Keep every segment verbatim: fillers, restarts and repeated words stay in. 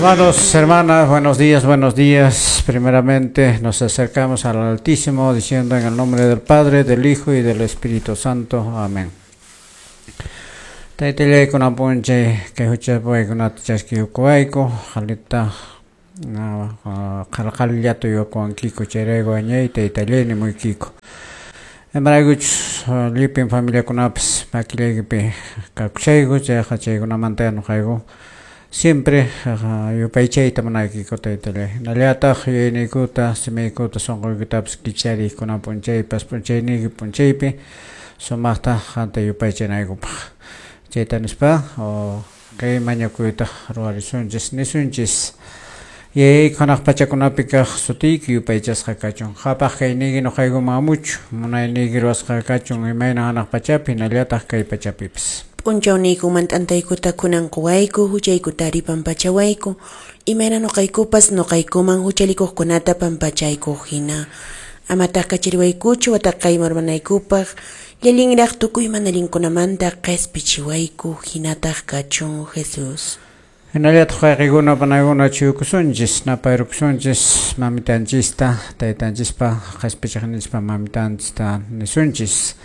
Hermanos, hermanas, buenos días, buenos días. Primeramente nos acercamos al Altísimo diciendo en el nombre del Padre, del Hijo y del Espíritu Santo. Amén. Taytallayku p'unchay kay huchapaykunata chaskiyukuwayku qalita qalqallata yuyakuwankiku chayrayku añay taytallay nimuykiku. Imaraykuchus llipin familiakunapas makillaykipi kakushayku chayqa chaykunamanta nuqayku siempre yupaychayta munaykiku taytallay. Hinallataq yuyayniykuta simiykuta sunquykitapas kichariy kunan p'unchaypas p'unchayniyki p'unchaypi sumaqta qanta yupaychanaykupaq. Chayta nispa kay mañakuyta ruwarisunchis nisunchis. Yayayku hanaq pachakunapi kaq sutiyki yupaychasqa kachun. Qhapaq kayniyki nuqaykuman amuchu, munayniyki ruwasqa kachun imayna hanaq pachapi hinallataq kay pachapipis. P'unchawniykuman t'antaykuta kunan quwayku, huchaykutari pampachawayku, imayna nuqaykupas nuqaykuman huchallikuqkunata pampachaykuq hina. Amataq kachariwaykuchu wataqayman urmanaykupaq, llallinraq tukuy mana allinkunamanta qispichiwayku, hinataq kachun Jesús. Hinallataq wayqikuna panaykuna chuyukusunchis, napayrukusunchis mamitanchista, taytanchispa qispichiqninchispa mamitanchista nisunchis.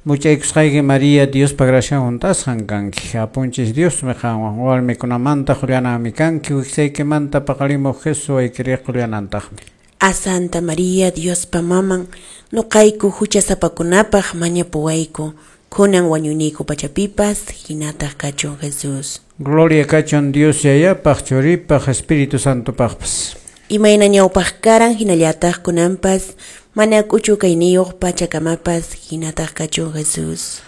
Muchaykusqayki María, Diospa gracian hunt'asqan kanki. Apunchis Diosmi qanwan warmikunamanta qullananmi kanki, wiksaykimanta paqarimuq Jesús waykiriq qullanantaqmi. A Santa María, Diospa maman, nuqayku huchasapakunapaq mañapuwayku, kunan wañuyniyku pachapipas, hinataq kachun Jesús. Gloria kachun Dios Yayapaq, Churipaq, Espíritu Santopaqpas. Imayna ñawpaq karan hinallataq kunanpas, mana k'uchu kayniyuq pachakamapas, hinataq kachun Jesús.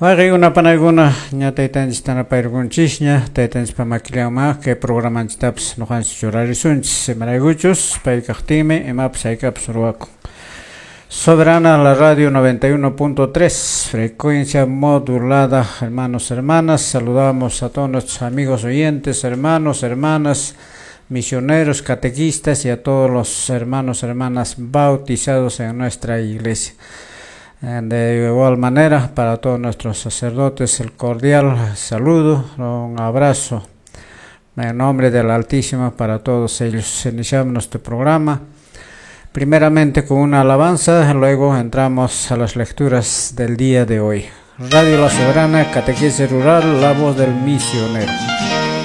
Wayqikuna panaykuna ña taytanchista napayrukunchisña, taytanchispa makillanman kay programanchistapas nuqanchis churarisunchis, imaraykuchus pay kaqtinmi imapas haykapas ruwakun. Soberana la radio noventa y uno punto tres, frecuencia modulada. Hermanos, hermanas, saludamos a todos nuestros amigos oyentes, hermanos, hermanas, misioneros, catequistas y a todos los hermanos, hermanas bautizados en nuestra iglesia. De igual manera, para todos nuestros sacerdotes, el cordial saludo, un abrazo en nombre del Altísimo para todos ellos. Iniciamos nuestro programa primeramente con una alabanza, luego entramos a las lecturas del día de hoy. Radio La Soberana, Catequesis Rural, la voz del misionero.